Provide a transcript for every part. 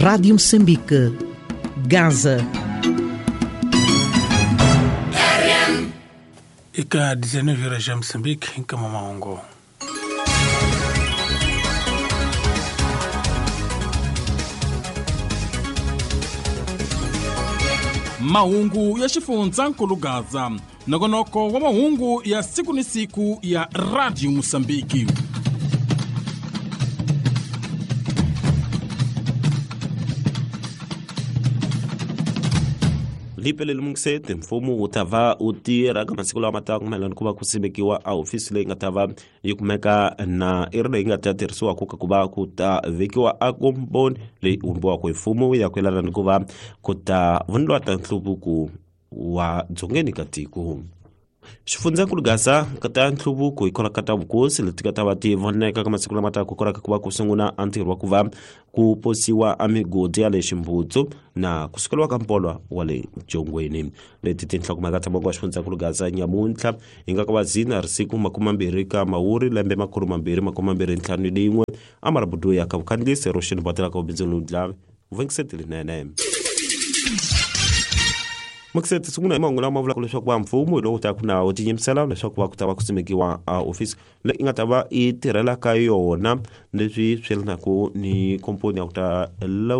Rádio Moçambique, Gaza. Ika 19 horas ya Moçambique, em Camamaongo. Mahungu ya xifundzankulu Gaza, nongonoko wa mahungu ya siku ni siku ya Radio Mosambiki. Lipeleli Mungiseti, mfumo wu ta va wu tirha ka masiku lama taka mayelana ku va ku simekiwa a hofisi leyi nga ta va yi kumeka na i ri leyi nga ta tirhisiwaka ka ku va ku ta vekiwa a komboni leyi vumbiwaka hi mfumo ya ku yelana ni ku va ku ta voniwa ta nhluvuko wa dzongeni ka tiko. Xifundzankulu Gaza ka ta nhluvuko hikwalaho ka ta vukosi leti nga ta va ti voneka ka masiku lama taka hikwalaho ka ku va ku sungula a ntirho wa ku va ku posiwa a migodi ya le Ximbutsu na ku sukeriwa ka mpolwa wa le Jongweni. Leti tinhlokomhaka ta mongo wa xifundzankulu Gaza nyamuntlha hi nga ka va zina risiku 20 ka Mawuri lembe 2021 amarabudu ya ka vukhandziyisi ro xini botela ka vubindzu lundla vungiseti linene. Mukiseti sungula hi mahungu lama vulaka leswaku va mfumo hi lowu taka na wu tinyimisela leswaku va ku ta va ku simekiwa a ofisi leyi nga ta va yi tirhela ka yona leswi swi yelanaka ni komponi ya ku ta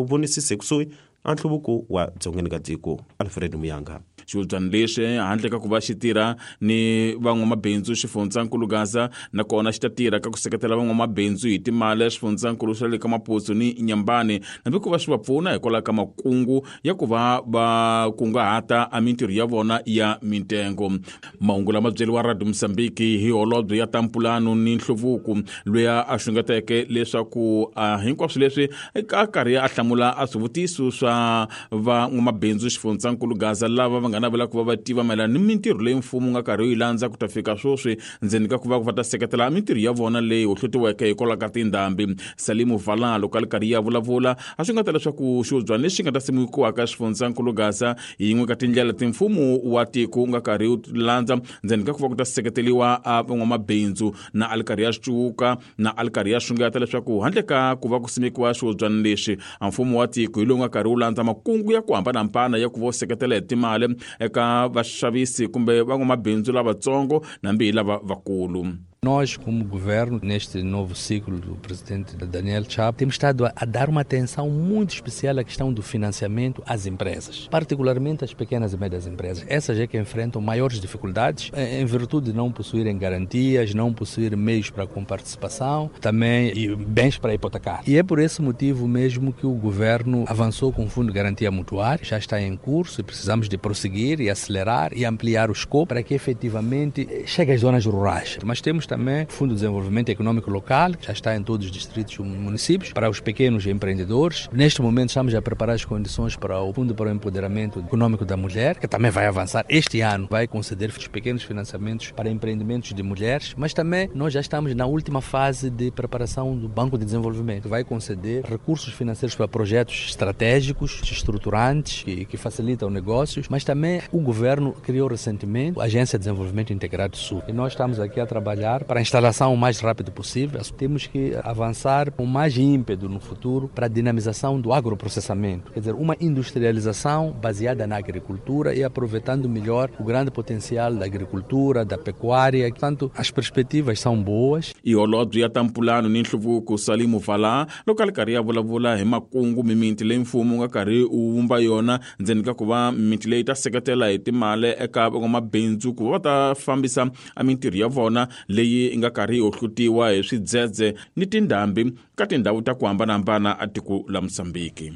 vonisisa ekusuhi a nhluvuko wa dzongeni ka tiko. Alfred Muyanga. Xihubyana lexi handle ka ku va xi tirha ni van'wamabindzu xifundzankulu Gaza, nakona xi ta tirha ka ku seketela van'wamabindzu hi timali ya xifundzankulu xa le ka Maputo ni Nyambani, hambi ku va swi va pfuna hikwalaho ka makungu ya ku va va kunguhata a mintirho ya vona ya mintengo. Mahungu lama byeriwa Radio Mozambique hi holobye ya ta mpulano ni nhluvuko loyi a xungeteke leswaku hinkwaswo leswi a karhi a hlamula a swivutiso swa van'wamabindzu xifundzankulu Gaza lava va nga navela ku va va tiva mayelana ni mintirho leyi mfumo wu nga karhi wu yi landza ku ta fika sweswi ndzeni ka ku va va ta seketela mintirho ya vona leyi hohlotiweke hikwalaho ka tindhambi. Salimu Vala loko a ri karhi ya vulavula a swi nga ta leswaku xihubyana lexi nga ta simekiwaka xifundzankulu Gaza hi yin'we ka tindlela ti mfumo wa tiko wu nga karhi wu landza ndzeni ka ku va ku ta seketeriwa a van'wamabindzu, na a ri karhi ya cuka na a ri karhi ya xungeta leswaku handle ka ku va ku simekiwa xihubyana lexi a mfumo wa tiko hi lowu nga karhi wu landza makungu ya ku hambanahambana ya ku va wu seketela hi timali eka vaxavisi kumbe van'wamabindzu lavatsongo nambi hi lava vakulu. Nós, como governo, neste novo ciclo do presidente Daniel Chapo, temos estado a dar uma atenção muito especial à questão do financiamento às empresas, particularmente às pequenas e médias empresas. Essas é que enfrentam maiores dificuldades em virtude de não possuírem garantias, não possuírem meios para comparticipação, também e bens para hipotecar. E é por esse motivo mesmo que o governo avançou com o Fundo de Garantia Mutuária, já está em curso e precisamos de prosseguir e acelerar e ampliar o escopo para que efetivamente chegue às zonas rurais. Mas temos também o Fundo de Desenvolvimento Econômico Local, que já está em todos os distritos e municípios, para os pequenos empreendedores. Neste momento estamos a preparar as condições para o Fundo para o Empoderamento Econômico da Mulher, que também vai avançar este ano, vai conceder os pequenos financiamentos para empreendimentos de mulheres, mas também nós já estamos na última fase de preparação do Banco de Desenvolvimento, que vai conceder recursos financeiros para projetos estratégicos, estruturantes, que facilitam negócios, mas também o governo criou recentemente a Agência de Desenvolvimento Integrado Sul. E nós estamos aqui a trabalhar para a instalação o mais rápido possível. Temos que avançar com mais ímpeto no futuro para a dinamização do agroprocessamento, quer dizer, uma industrialização baseada na agricultura e aproveitando melhor o grande potencial da agricultura, da pecuária. Portanto, as perspectivas são boas. E holobye ya ta mpulano ni nhluvuko Salimu Vala loko a ri karhi ya vulavula hi makungu mimiti leyi mfumo wu nga karhi wu vumba yona ndzeni ka ku va mimiti leyi ta seketela hi timali eka van'wamabindzu ku va va ta fambisa a mintirho ya vona leyi nga karhi yi hohlutiwa hi swidzedze ni tindhambi ka tindhawu ta ku hambanahambana a tiko la Mozambique.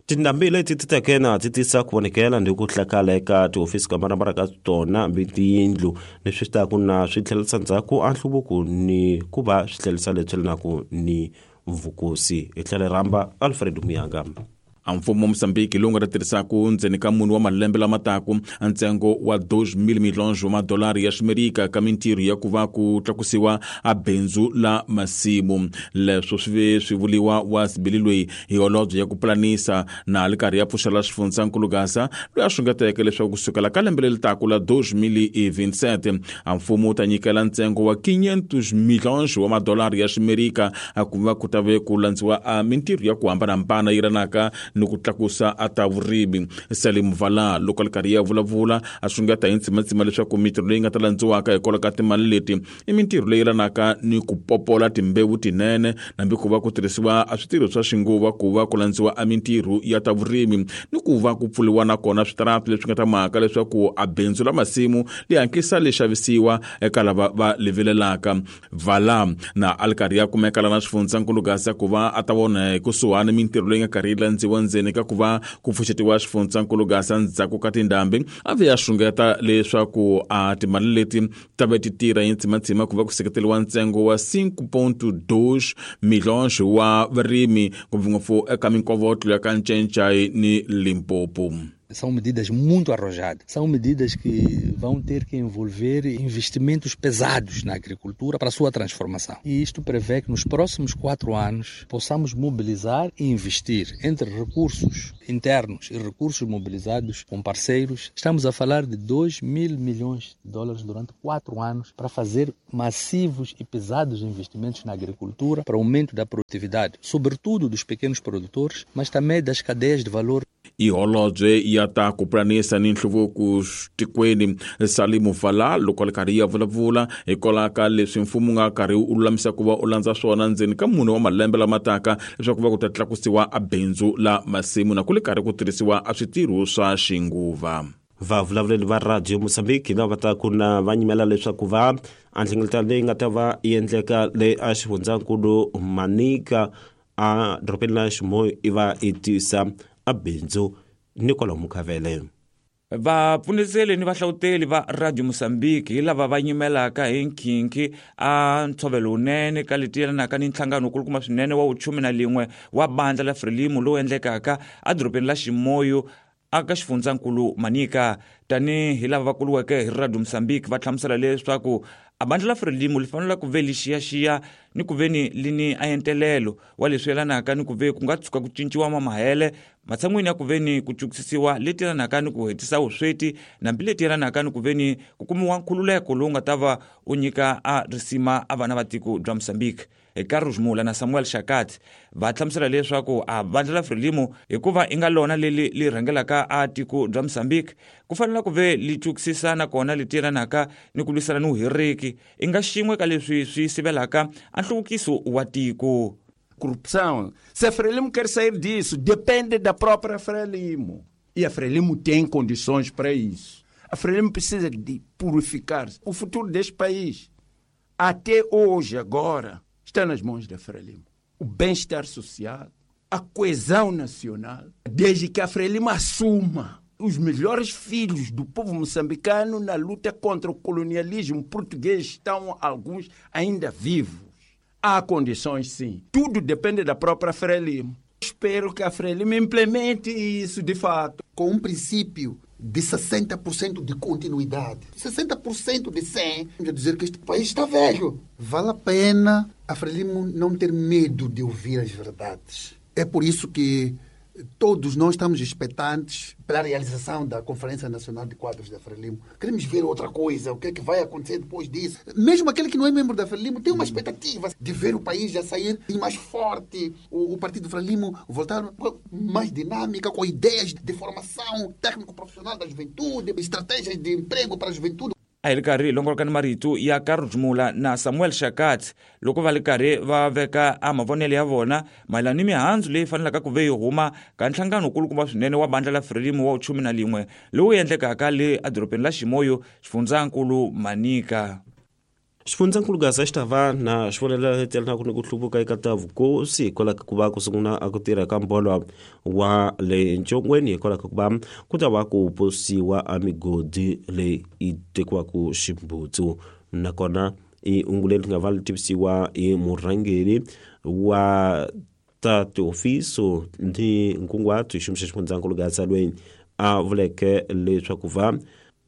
Tindhambi leti ti teke na ti tisa ku vonekela ni ku hlakala eka tihofisi ku hambanahambana ka tona hambi tiyindlu leswi swi taku na swi tlhelerisa ndzhaku a nhluvuko ni ku va swi tlhelerisa leswi yelanaka ni vukosi. Hi tlhela hi rhamba Alfred Muyanga. A mfumo wa Mozambique lowu nga ta tirhisaka ndzeni ka mune wa malembe lama taku ntsengo wa 2,000 milhões wa madolari ya Ximerika ka mintirho ya ku va ku tlakusiwa a bindzu la masimu. Leswo swi ve swi vuliwa wa Sibili loyi hi holobye ya ku pulanisa na ri karhi ya pfuxela xifundzankulu Gaza loyi a xungeteke leswaku kusukela ka lembe leri taku la 2027 a mfumo wu ta nyikela ntsengo wa 500 milhões wa madolari ya Ximerika a ku va ku ta ve ku landziwa a mintirho ya ku hambanahambana yi ranaka ni ku tlakusa a ta vurimi. Salim Vala loko a ri karhi ya vulavula a xungeta hi ntsimatsima leswaku mintirho leyi nga ta landziwaka hikwalaho ka timali leti i mintirho leyi yelanaka ni ku popola timbewu tinene nambi ku va ku tirhisiwa a switirho swa xinguva ku va ku landziwa a mintirho ya ta vurimi ni ku va ku pfuriwa nakona switarati leswi nga ta mhaka leswaku a bindzu la masimu li hatlisa li xavisiwa eka lava va livilelaka. Vala na a li karhi ya kumeka lana xifundzankulu Gaza ku va a ta vona hi kusuhani mintirho leyi nga karhi yi landziwa ndzeni ka ku va ku pfuxetiwa xifundzankulu Gaza ndzhaku ka tindhambi. A ve ya xungeta leswaku a timali leti ta ve ti tirha hi ntsimatsima ku va ku seketeriwa ntsengo wa 5.2 milhões wa varimi ngopfungopfu eka minkovotlo ya ka Ncencai ni Limpopo. São medidas muito arrojadas, são medidas que vão ter que envolver investimentos pesados na agricultura para a sua transformação. E isto prevê que nos próximos 4 anos possamos mobilizar e investir entre recursos internos e recursos mobilizados com parceiros. Estamos a falar de 2 mil milhões de dólares durante 4 anos para fazer massivos e pesados investimentos na agricultura para aumento da produtividade, sobretudo dos pequenos produtores, mas também das cadeias de valor. I holobye ya ta ku pulanisa ni nhluvuko tikweni Salimu Vala loko a ri karhi ya vulavula hikwalaho ka leswi mfumo wu nga karhi wu lulamisa ku va u landza swona ndzeni ka mune wa malembe lama taka leswaku va ku ta tlakusiwa a bindzu la masimu na ku ri karhi ku tirhisiwa a switirho swa xinguva. Vavulavuleli va Radio Mozambique lava ta ku na va nyimela leswaku va a nhlengeletano leyi nga ta va yi endleka le a xifundzankulu Manica a dorobeni la Chimoio i va i tisa a bindzu ni kwalomu ka vele. Vapfuniseli ni vahlawuteli va Radio Mozambique hi lava va nyimelaka hi nkhinkhi a ntshovelo wunene ka leti yelanaka ni nhlangano wukulukumba swinene wa vuchume na lin'we wa bandla la Frelimo lowu endlekaka edorobeni la Chimoio aka xifundzankulu Manica. Tanihi lava va kuluweke hi Radio Mozambique va hlamusela leswaku a bandla la Frelimo li fanele ku ve li xiyaxiya ni ku ve ni li ni aentelelo wa leswi yelanaka ni ku ve ku nga tshuka ku cinciwa mamahele matshan'wini ya ku ve ni ku cukisisiwa leti yelanaka ni ku hetisa vusweti nambi leti yelanaka ni ku ve ni ku kumiwa nkhululeko lowu nga ta va u nyika a risima a vana va tiko bya Mozambique. Carlos Mula na Samuel Shakat va hlamusela leswaku a bandla la Frelimo hikuva i nga lona leli li rhangelaka a tiko bya Mozambique ku fanele ku ve li cukisisa nakona li tiyelanaka ni ku lwisana ni vuheriki i nga xin'we ka leswi swi sivelaka a nhluvukiso wa tiko. Corrupção. Se a Frelimo quer sair disso, depende da própria Frelimo. E a Frelimo tem condições para isso. A Frelimo precisa de purificar o futuro deste país. Até hoje, agora, está nas mãos da Frelimo. O bem-estar social, a coesão nacional, desde que a Frelimo assuma os melhores filhos do povo moçambicano na luta contra o colonialismo português, estão alguns ainda vivos. Há condições, sim. Tudo depende da própria Frelimo. Espero que a Frelimo implemente isso de fato. Com um princípio de 60% de continuidade. 60% de 100, quer dizer que este país está velho. Vale a pena a Frelimo não ter medo de ouvir as verdades. É por isso que todos nós estamos expectantes pela realização da Conferência Nacional de Quadros da Frelimo. Queremos ver outra coisa, o que é que vai acontecer depois disso. Mesmo aquele que não é membro da Frelimo tem uma expectativa de ver o país já sair mais forte, o Partido Frelimo voltar mais dinâmica, com ideias de formação técnico-profissional da juventude, estratégias de emprego para a juventude. A hi ri karhi hi longoloka ni marito ya Carlos Mula na Samuel Shakat loko va ri karhi va veka a mavonelo ya vona mayelana ni mihandzu leyi fanelaka ku ve yi huma ka nhlangano wukulukumba swinene wa bandla la Frelimo wa 11 lowu endlekaka le edorobeni la Chimoio xifundzankulu Manica. Xifundzankulu Gaza xi ta va na xivonelo letelanaku ni ku hluvuka eka ta vukosi hikwalaho ka ku va ku sungula a ku tirha ka mbolo wa le ncongweni hikwalaho ka ku va ku ta va ku posiwa a migodi leyi yi tekiwaka ximbutsu nakona i hungu leri nga va li tivisiwa hi murhangeri wa ta tihofisi ni nkunguhato hi xiyimo xa xifundzankulu Gaza loyi a vuleke leswaku va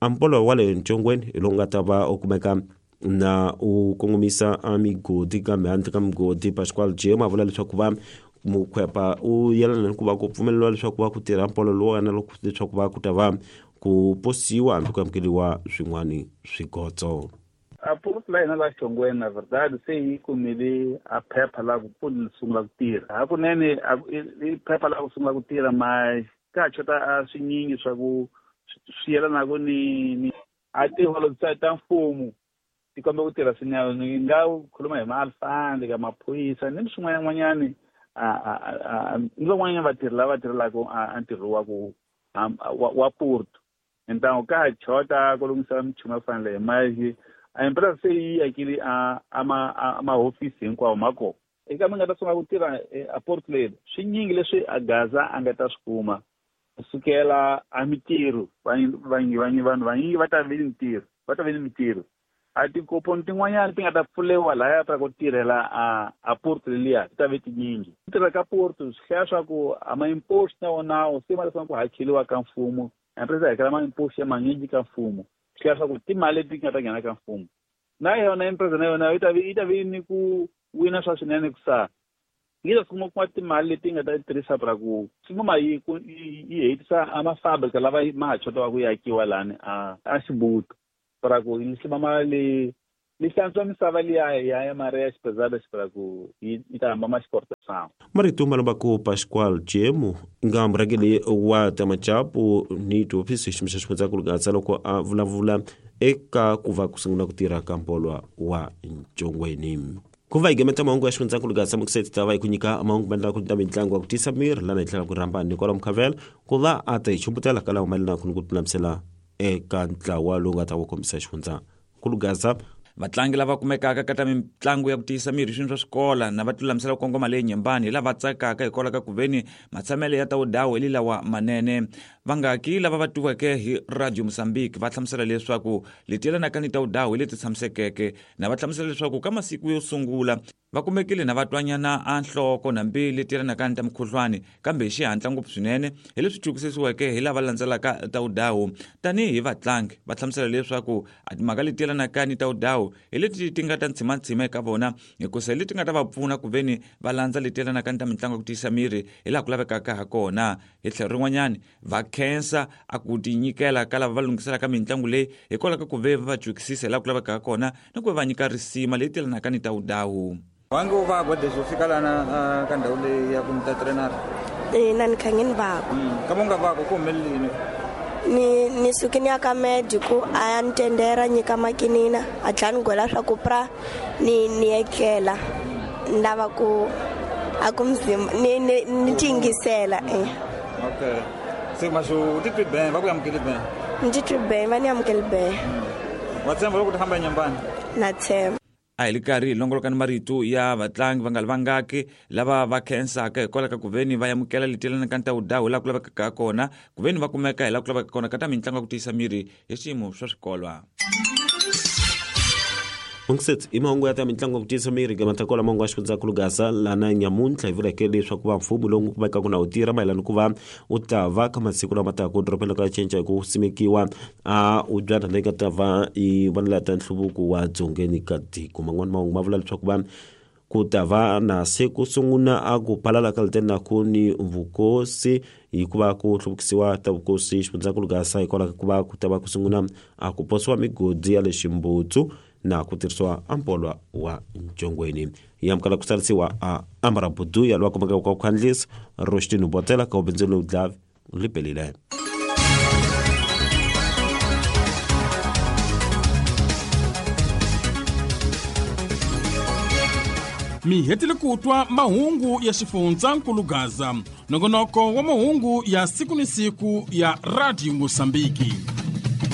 a mbolo wa le ncongweni hi lowu nga ta va u kumeka na u kongomisa a migodi kambe handle ka migodi Pascual Jim a vula leswaku va mukhwepa u yelana ni ku va ku pfumeleriwa leswaku va ku tirha mpolo lowu na loko leswaku va ku ta va ku posiwa hambi ku amukeriwa swin'wana swigotso. A Porto la hina la Xongweni na verdade se yi kumile a phepha la ku pfuna sungula ku tirha. Hakunene i phepha la ku sungula ku tirha mas ka chota a swinyingi swa ku swi yelanaka ni a tiholo ta mfumo ti komba ku tirha swinene. Ni nga khuluma hi ma-alfandi ka maphorisa ni swin'wananyana ni van'wanyana vatirhi lava tirhelaka a ntirho wa ku wa Porto. Então ka chota ku lunghisa minchumu yo fana leyi mas a empresa se yi akile a mahofisi hinkwawo ma kona. Eka mi nga ta sungula ku tirha a Porto leyi swinyingi leswi a Gaza a nga ta swi kuma kusukela a mitirho vanhu vanyingi va ta vi ni mitirho va ta vi ni mitirho. A tikoponi tin'wanyana ti nga ta pfulewa lahaya ta ku tirhela a Porto leliya ti ta ve tinyingi. Ku tirha ka Porto swi hlaya swa ku a ma-impost na wona se ma ta ku hakeriwa ka mfumo. Empresa hakela ma-impost ya manyingi ka mfumo. Swi hlaya swa ku timali leti nga ta nghena ka mfumo. Na yona empresa na yona yi ta vi ni ku wina swa swinene ku sa. Yi ta kuma timali leti nga ta tirhisa pra ku swi yi yi hetisa a mafabrik lava ma ha chotiwa ku yakiwa lani a Xibuto. Pra ku yi hlima li hlantswa misava liya ya Maria Xipezada pra ku yi ta hamba ma exportação. Marito malombaku Pascoal Jemu nga murhangeri wa ta machapu ni tihofisi xiyimo xa xifundzankulu Gaza loko a vulavula eka ku va ku sungula ku tirha ka mpolwa wa Ncongweni. Ku va hi gemeta mahungu ya xifundzankulu Gaza mukuseti ta va hi ku nyika mahungu maendlaka ku ta mitlangu wa ku tisa miri lana hi tlhela ku rhamba Nicola Mukhavela ku va a ta hi chumbutela ka lawa mayelanaka ni ku lulamisela eka ntlawa lowu nga ta wu kombisa xifundzankulu Gaza. Vatlangi lava kumekaka ka ta mitlangu ya ku tiyisa miri swini swa swikola na va tilulamisela ku kongoma leyi nyembani hi lava tsakaka hikwalaho ka ku veni matshamelo ya ta wudawu hi lilawa manene. Vangaki lava va tiweke hi Radio Mozambique va hlamusela leswaku leti yelanaka ni ta wudawu hi leti tshamisekeke na va hlamusela leswaku ka masiku yo sungula va kumekile na va twanyana a nhloko nambi leti yelanaka ni ta mukhuhlwani kambe hi xihatla ngopfu swinene hi leswi twisisiweke hi lava landzelaka ta wudawu. Tanihi vatlangi va hlamusela leswaku a timhaka leti yelanaka ni ta wudawu hi leti ti nga ta ntshimantsima eka vona hikusa hi leti nga ta va pfuna ku veni va landza leti yelanaka ni ta mitlangu ya ku tiyisa miri hi laha ku lavekaka ha kona. Hi tlhelo rin'wanyani va khensa a ku tinyikela ka lava va lunghiselaka mitlangu leyi hikwalaho ka ku ve va va twisisa hi laha ku lavekaka kona ni ku va nyika risima leyi yelanaka ni ta wudawu. Wange u vagwa desde u fika lana ka ndhawu leyi ya ku ni ta trenara? Ina ni kha ngi ni vagwa. Kama u nga vagwa ku humelelini? Ni suke ni ya ka med ku a ya ni tendera nyika makinina a tlhela ni gwela swa ku pra ni etlela ni lava ku a ku mzimba ni tingisela. Okay. Se maxo u titwi ben va ku amukeli ben? Ni titwi ben va ni amukeli ben. Wa tshemba loko ti hamba nyambani? Na tshemba. A hi li karhi hi longoloka ni marito ya vatlangi va nga li vangaki lava va khensaka hikwalaho ka ku veni va amukela leti yelanaka ni ta wudawu hi laha ku lavekaka kona ku veni va kumeka hi laha ku lavekaka kona ka ta mitlangu ya ku tiyisa miri hi swiyimo swa swikolwa. Mungiseti i mahungu ya ta mitlangu ya ku tiyisa miri gematakola mahungu ya xifundzankulu Gaza lana nyamuntlha hi vuleke leswaku va mfumo lowu kumekaka na wu tirha mayelana ku va u ta va ka masiku lama taka dorobeni ka cinca hi ku simekiwa a ubyana leyi nga ta va yi vonela ta nhluvuko wa dzongeni ka tiko. Man'wani mahungu ma vula leswaku va ku ta va na se ku sungula a ku phalala ka litenaku ni vukosi hikuva ku hluvukisiwa ta vukosi xifundzankulu Gaza hikwalaho ka ku va ku ta va ku sungula a ku posiwa migodi ya le Ximbutsu na ku tirhisiwa ampolwa wa Ncongweni. Yi amukela ku tsarisiwa a Ambara Buduya loyi a kumekaka ka Khandlisa Roshtini Botela ka ubindzu lowu dlavi lipelile. Mi hetile ku twa mahungu ya xifundzankulu Gaza, nongonoko wa mahungu ya siku ni siku ya Radio Mozambique.